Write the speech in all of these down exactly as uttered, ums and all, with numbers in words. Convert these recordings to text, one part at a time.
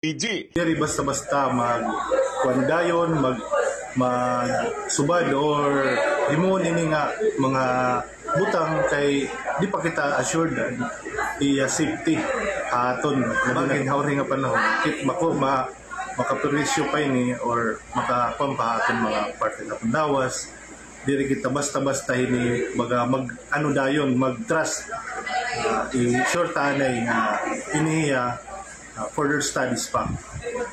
Diri basta-basta mag-, kuan dayon, mag-, magsubad or himuon ini nga mga butang kay di pa kita assured iya safety ha aton. Nabangin ha uri nga panahon, kit bako ma-, makaperwisyo pa ini or makakuan pa ha aton mga parte sa pandawas. Diri kita basta-basta hini baga mag-, ano dayon, mag-trust. Ah, i-sure ta anay nga ini iya, ah, further studies pa.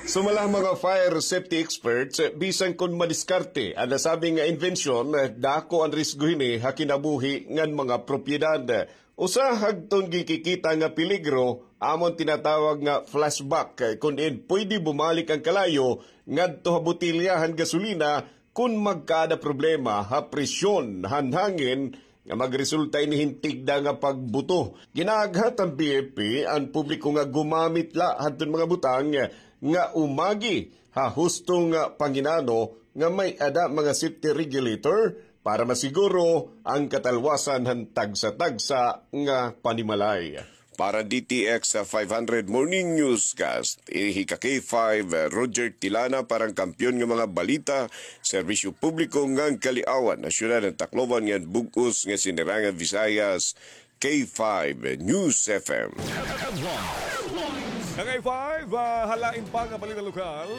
Sumala ha mga fire safety experts, bisan kon madiskarte an nasabi nga imbensyon, dako an risgo hini ha kinabuhi ngan mga propiedad. Usa hadton ginkikita nga peligro amo an tinatawag nga flashback, kon diin pwede bumalik an kalayo ngadto ha botelya han gasolina kon magkaada problema ha presyon han hangin nga magresulta ini hin tigda nga pagbuto. Ginaaghat han B F P an publiko nga gumamit la hadton mga butang nga umagi ha husto nga panginano nga may-ada mga safety regulator para masiguro an katalwasan han tagsa-tagsa nga panimalay. Para D T X five hundred Morning Newscast, ini hi ka K five, Roger Tilana, para han Kampiyon nga mga Balita, Serbisyo Publiko ngan Kaliawan, ha Syudad han Tacloban ngan bug-os nga Sinirangan Visayas, K five News F M. Ka K five, ah, ha lain pa nga balita lokal,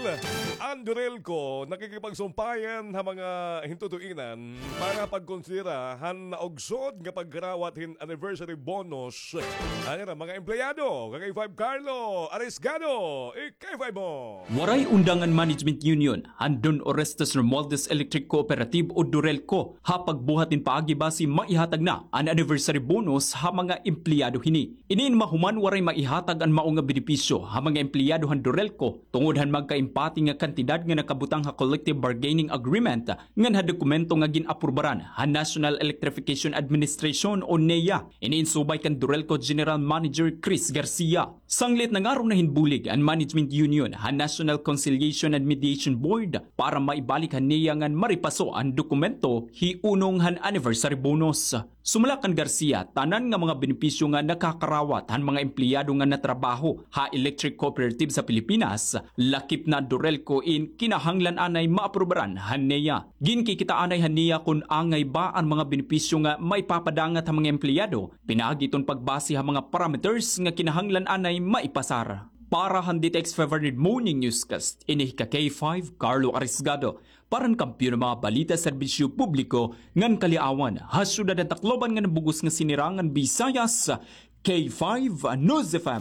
an DURELCO nakikipagsumpayan ha mga hintutuinan para pagkonsidera han naugsod nga pagkarawat hin anniversary bonus han ira mga empleyado. Ka K five Carlo Arisgado, i-K five mo. Waray undang an Management Union han Don Orestes Romualdez Electric Cooperative o DURELCO ha pagbuhat hin paagi basi maihatag na an anniversary bonus ha mga empleyado hini. Ini in mahuman waray maihatag an mao nga benepisyo ha mga empleyado han DURELCO tungod han magkaimpati nga kantidad nga nakabutang ha collective bargaining agreement ngan ha dokumento nga gin-aprubaran han National Electrification Administration o NEA. Ini in subay kan DURELCO General Manager Chris Garcia. Sanglit nangaron na hin bulig an Management Union han National Conciliation and Mediation Board para maibalik han NEA ngan maripaso an dokumento hiunong han anniversary bonus. Sumala kan Garcia, tanan nga mga benepisyo nga nakakarawat han mga empleyado nga natrabaho ha electric cooperative sa Pilipinas, lakip na DURELCO in kinahanglan anay maaprubaran han NEA. Ginkikita anay han NEA kon angay ba an mga benepisyo nga maipapadangat ha mga empleyado, pinaagi iton pagbase ha mga parameters nga kinahanglan anay maipasar. Para han D T X five hundred Morning Newscast, ini hi ka K five, Carlo Arisgado, para han Kampiyon nga mga Balita, Serbisyo Publiko ngan Kaliawan, ha Syudad han Tacloban ngan bug-os nga Sinirangan Visayas, K five News F M.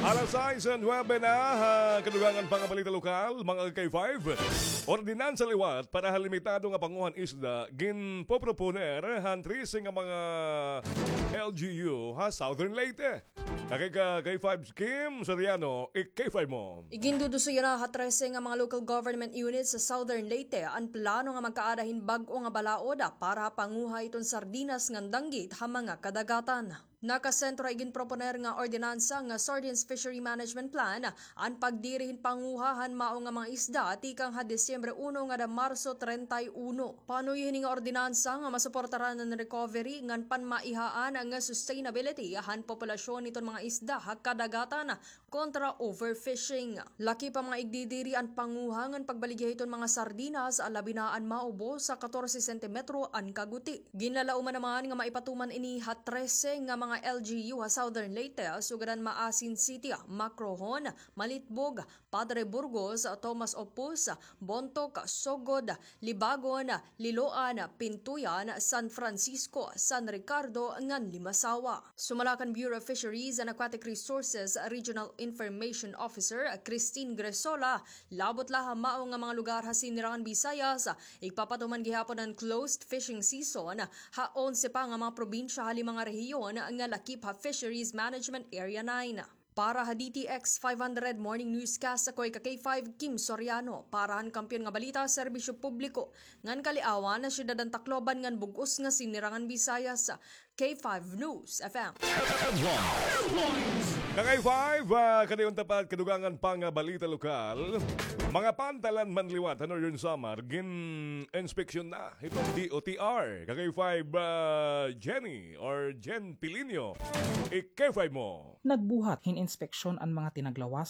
Alas sais and nuebe na, ha kadugangan pa nga balita lokal, mga K five. Ordinansa liwat para ha limitado nga panguhan isda, ginpoproponer han trese nga mga L G U ha Southern Leyte. Kay ka K five Kim Soriano, i-K five mo. Iginduduso yana ha trese nga mga local government units sa Southern Leyte an plano nga magkaada hin bag-o nga balaod para ha panguha hiton sardinas ngan danggit ha mga kadagatan. Nakasentro ha iginproponer nga ordinansa nga Sardines Fishery Management Plan an pagdiri hin panguha han mao nga mga isda tikang ha Disyembre uno ngada Marso treinta y uno. Panuyo hini nga ordinansa nga masuportaran an recovery ngan panmaihaan nga sustainability han populasyon hiton mga isda ha kadagatan kontra overfishing. Lakip pa mga igdidiri an panguha ngan pagbaligya hiton mga sardinas, labi na an maubos sa katorse sentimetro an kaguti. Ginlalauman naman nga maipatuman ini ha trese nga mga L G U ha Southern Leyte, sugad han Maasin City, Macrohon, Malitbog, Padre Burgos, Tomas Opus, Bontoc, Sogod, Libagon, Liloan, Pintuyan, San Francisco, San Ricardo, ngan Limasawa. Sumala kan Bureau of Fisheries and Aquatic Resources Regional Information Officer Christine Gresola, labot la ha mao nga mga lugar ha Sinirangan Visayas, igpapatuman gihapon an closed fishing season ha onse pa nga mga probinsya ha lima nga rehiyon nga lakip ha Fisheries Management Area nine. Para ha D T X five hundred Morning Newscast, ako hi ka K five, Kim Soriano. Para han Kampiyon nga Balita, Serbisyo Publiko ngan Kaliawan, ha Syudad han Tacloban ngan bug-os nga Sinirangan Visayas, K five News F M. Ka K five, ah, kadayon ta pa kadugangan pa nga balita lokal. Mga pantalan man liwat han Northern Samar gin-inspeksyon na hiton D O T R. Ka K five, ah, Jenny or Jen Pilinio, i-K five mo. Nagbuhat hin inspeksyon an mga tinaglawas